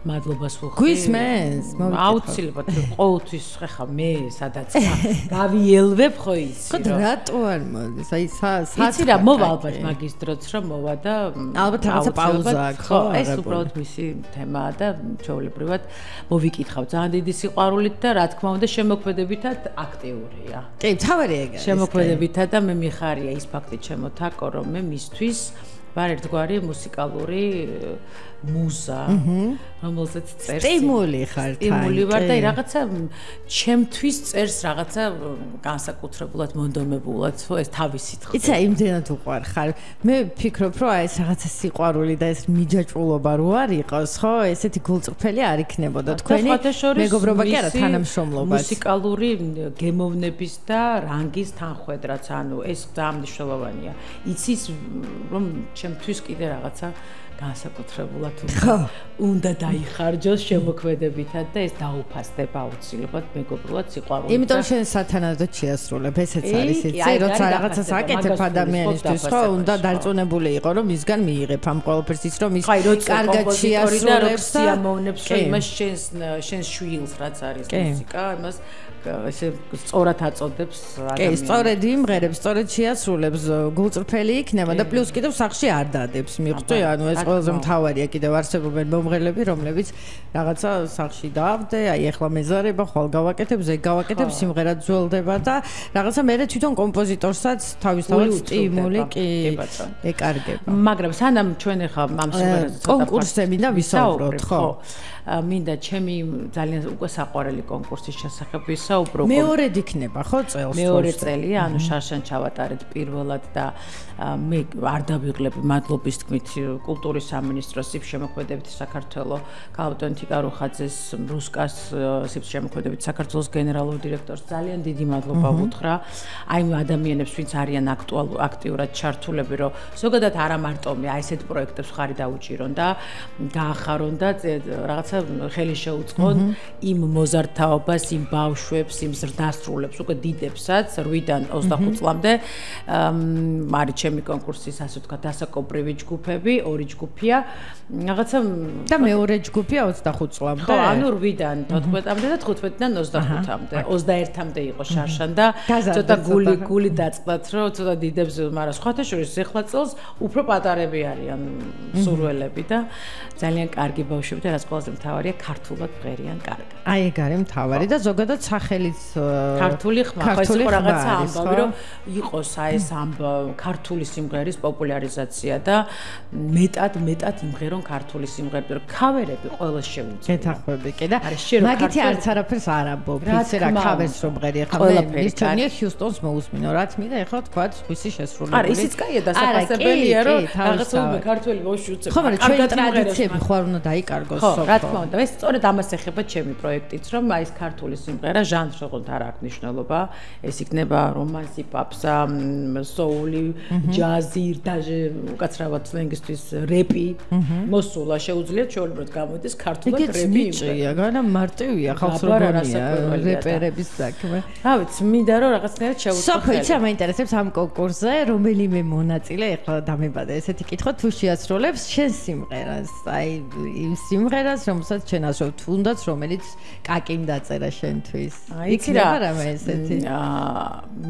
მადლობას ვუხდი. გვისმენს? აუცილებლად ყოველთვის ხა მე სადაც გავიელვებ ხო იცი ხო რატო არ მოდის? აი იცი რა მოვა ალბათ მაგის დროც რომ მოვა და ალბათ რაღაცა პაუზა აქვს ხო? ეს უბრალოდ მისი თემაა და ჩვეულებრივად მოვიკითხავ ძალიან დიდი სიყვარულით და რა თქმა უნდა შემოქმედებითად აქტიურია. კი, თავარი ეგაა. შემოქმედებითად და მე მიხარია ის ფაქტი ჩემოთაკო რომ მე მისთვის ვარ ერთგვარი მუსიკალური მუზა, რომელზეც წერს. სტიმული ხარ თან. სტიმული ვარ და რაღაცა ჩემთვის წერს რაღაცა განსაკუთრებულად მონდომებულად, ხო ეს თავისით ხო. იცი, იმდენად უყვარ ხარ. მე ვფიქრობ, რომ აი ეს რაღაცა სიყვარული და ეს მიჯაჭვულობა რო არ იყოს, ხო, ესეთი გულწრფელი არ იქნებოდა თქვენი მეგობრობა კი არა თანამშრომლობა. მუსიკალური გემოვნების და რანგის თანხვედრაც, ანუ ეს ძალიან მნიშვნელოვანია. იცის რომ ჩემთვის კიდე რაღაცა განსაკუთრებულად უნდა დაიხარჯოს შემოქმედებითად და ეს დაუფასდება აუცილებლად მეგობრულად სიყვარულით. იმიტომ შენ სათანადოდ შეასრულებ, ესეც არის იცი, როცა რაღაცას აკეთებ ადამიანისთვის, ხო, უნდა დარწმუნებული იყო, რომ მისგან მიიღებ ამ ყველაფერს ის რომ ის კარგად შეასრულებს და სიამოვნებს იმას შენს შვილს რაც არის მუსიკა, იმას ესე სწორად აწოდებს კი, ადამიანს. სწორედ იმღერებს, სწორედ შეასრულებს, გულწრფელი იქნება და პლუს კიდევ სახში არ დადებს, მიხვდი? ანუ ეს ყველაზე მთავარია, კიდევ არსებობენ მომღერლები, რომლებიც რაღაცა სახში დაავდე, აი ახლა მეზარება, ხვალ გავაკეთებ, ზეგ გავაკეთებ, სიმღერა ძველდება და რაღაცა მერე თვითონ კომპოზიტორსაც თავისთავად სტიმული კი ეკარგება. მაგრამ სანამ ჩვენ ახლა ამ სიმღერაზე ცოტა კონკურსზე მინდა ვისაუბროთ, ხო? მინდა ჩემი ძალიან უკვე საყვარელი კონკურსის შესახებ ვისაუბრო. მეორედ იქნება ხო წელს? მეორე წელია, ანუ შარშან ჩავატარეთ პირველად და მე არ დავიღლებ მადლობის თქმით კულტურის სამინისტროს სიფ შემოქმედებით საქართველოს ქალბატონ თიკა რუხაძეს, რუსკას სიფ შემოქმედებით საქართველოს გენერალურ დირექტორს ძალიან დიდი მადლობა ვუთხრა. აი ამ ადამიანებს ვინც არიან აქტიურად ჩართულები, რომ ზოგადად არა მარტო მე აი ესეთ პროექტებს ხარი დაუჭირონ და გაახარონ და რაღაც ხელი შეუწყონ იმ მოზარდთაობას, იმ ბავშვებს, იმ ზრდასრულებს, უკვე დიდებსაც 8-დან 25 წლამდე არის ჩემი კონკურსის ასე ვთქვათ დასაკობრივი ჯგუფები, ორი ჯგუფია. რაღაცა და მეორე ჯგუფია 25 წლამდე. ხო, ანუ 8-დან 14-მდე და 15-დან 25-მდე. 21-მდე იყო შარშან და ცოტა გული დაწყდათ, რომ ცოტა დიდებს, მაგრამ სხვათა შორის ეხლა წელს უფრო პატარები არიან სურველები და ძალიან კარგი ბავშვები და რაც ყველაზე მთავარია ქართულად ღერიან კარგად. აი ეგ არის მთავარი და ზოგადად სახელიც ქართული ხმა, ხო ეს რაღაცა ამბავი რომ იყოს აი ეს ქართული სიმღერის პოპულარიზაცია და მეტად იმღერონ ქართული სიმღერები, რომ ქავერები ყოველს შეუძლია. გეთახვები კი და მაგითი არც არაფერს არ ამბობ, იცი რა ქავერს რომ ღერი ახლა მე მირჩენია ჰიუსტონს მოусმინო, რაც მინდა ახლა თქვა ხმისი შესრულებული. არა, ისიც კაია დასაფასებელია, რომ რაღაცა ქართული ბავშვი უცებ. ხო, მაგრამ ჩვენი ტრადიციები ხო არ უნდა დაიკარგოს ხო, რა თქმა უნდა, ეს სწორედ ამას ეხება ჩემი პროექტიც, რომ აი ეს ქართული სიმღერა ჟანრს როგორც არ აქვს მნიშვნელობა, ეს იქნება რომანსი, პაპსა, soul-ი, ჯაზი, დაჟე უკაცრავად სლენგისთვის რეპი, მოსულა შეუძლიათ ჩვეულებრივად გამოდის ქართულად რეპი. მიჭია, განა მარტივია ხალხსრობანია რეპერების საქმე. რა ვიცი, მინდა რომ რაღაცნაირად შევუწყო. სოფიცა მაინტერესებს ამ კონკურსზე, რომელიმე მონაწილე ახლა დამებადა ესეთი კითხვა თუ შეასრულებს შენ სიმღერას, აი იმ სიმღერას, რომელსაც შენ ასრულებ, თუნდაც რომელიც კაკიმ დაწერა შენთვის. იცი რა, ესეთი.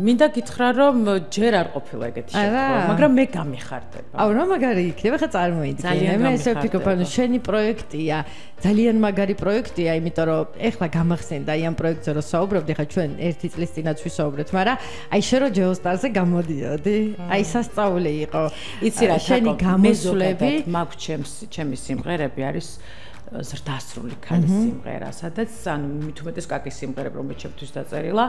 მინდა გითხრა რომ ჯერ არ ყოფილა ეგეთი შემთხვევა, მაგრამ მე გამიხარდება. აუ რა მაგარი იქნება, ხა წარმოიდგინე. მე ესე ვფიქრობ, ანუ შენი პროექტია, ძალიან მაგარი პროექტია, იმიტომ რომ ეხლა გამახსენდა აი ამ პროექტზე რომ საუბრობდი, ხა ჩვენ 1 წლის წინაც ვისაუბრეთ, მაგრამ აი შენ რო ჯეოსტარზე გამოდიოდი, აი სასწაული იყო. იცი რა, შენი გამოსვლები მაქვს ჩემი სიმღერები არის ზრდასრული ქალის სიმღერა, სადაც ანუ მით უმეტეს კაკის სიმღერები, რომელიც ჩემთვის დაწერილა,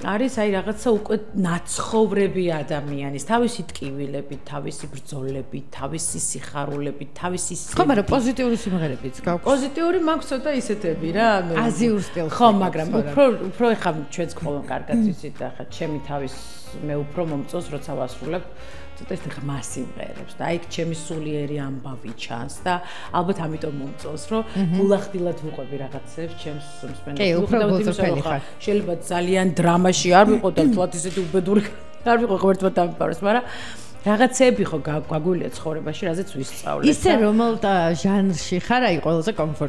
არის აი რაღაცა უკვე ნაცხოვრები ადამიანის, თავისი ტკივილებით, თავისი ბრძოლებით, თავისი სიხარულებით, თავისი ხო, მაგრამ პოზიტიური სიმღერებიც გაქვს. პოზიტიური მაქვს ცოტა ისეთები რა, ანუ აზიურ სტილში. ხო, მაგრამ უფრო ეხა ჩვენც ყველამ კარგად ვიცით და ხა ჩემი თავის მე უფრო მომწონს, როცა ვასრულებ ცოტა ეს ღმა სიმღერებს და აი ჩემი სულიერი ამბავი ჩანს და ალბათ ამიტომ მომწონს, რომ გულახდილად ვუყვები რაღაცებს ჩემს მსმენელს. კი, უფრო გულწრფელი ხარ. შეიძლება ძალიან დრამაში არ ვიყო და თვათ ისეთი უბედური არ ვიყო ღმერთმა დამიპაროს, მაგრამ რაღაცები ხო გაგვილია ცხოვრებაში, რაზეც ვისწავლეთ. ისე რომელ ჟანრში ხარ, აი ყველაზე კომფორტ